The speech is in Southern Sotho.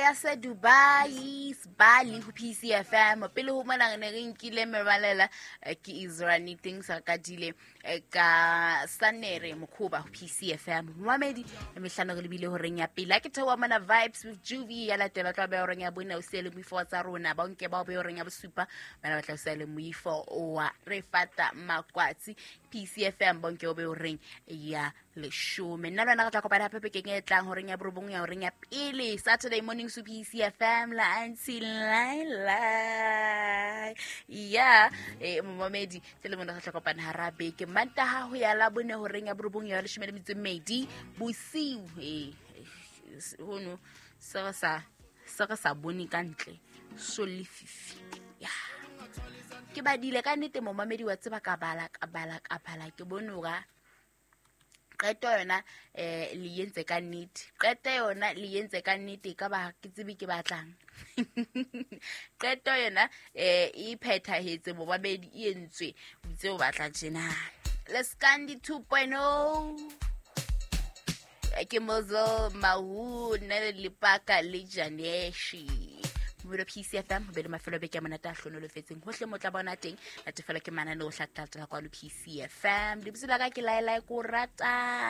ya se Dubai Sbali ho PCFM. Pele ho mona re ne re nkile merwalela, ke Israel things re kadile ka Sanere Mokhoba ho PCFM. Momamedi e mehlano re lebile horeng ya pele. Ha ke theoha mona Vibes with Juvie ya latela tla be horeng ya bone o siele moifo wa tsa rona ba nke ba o be horeng ya bosupa bana ba tla o siele moifo wa re fata makwatsi PCFM bonke o be horeng ya leshome. Nna le wena re tla kopana hape bekeng e tlang horeng ya borobong ya horeng ya pele Saturday morning su PCFM la Aunty Laila. Ya momamedi tse le mona re tla kopana hara beke Mantaha ho ya la bone horeng ya borobong ya leshome le metso e mmedi bosiu. Hono se re sa se re sa bone ka ntle so lefifi. Ya ke badile ka nnete momamedi wa tseba ka bala ka bala ka bala ke bone hore qeto yona le entse ka nnete, qeto yona le entse ka nnete, ka ba ke tsebe ke batlang qeto yona e phethahetse momamedi e entswe o itse o batla tjena. Leskandi 2.0 ke Mozo Mahu nne le Lipaka le Janeshi. Mmino PCFM ho be le mafelo a beke a monate a hlonolofetseng hohle mo tla bona teng natefelo ke manane o hlatlatela kwano PCFM. Lebitso la ka ke Laelae ko rata.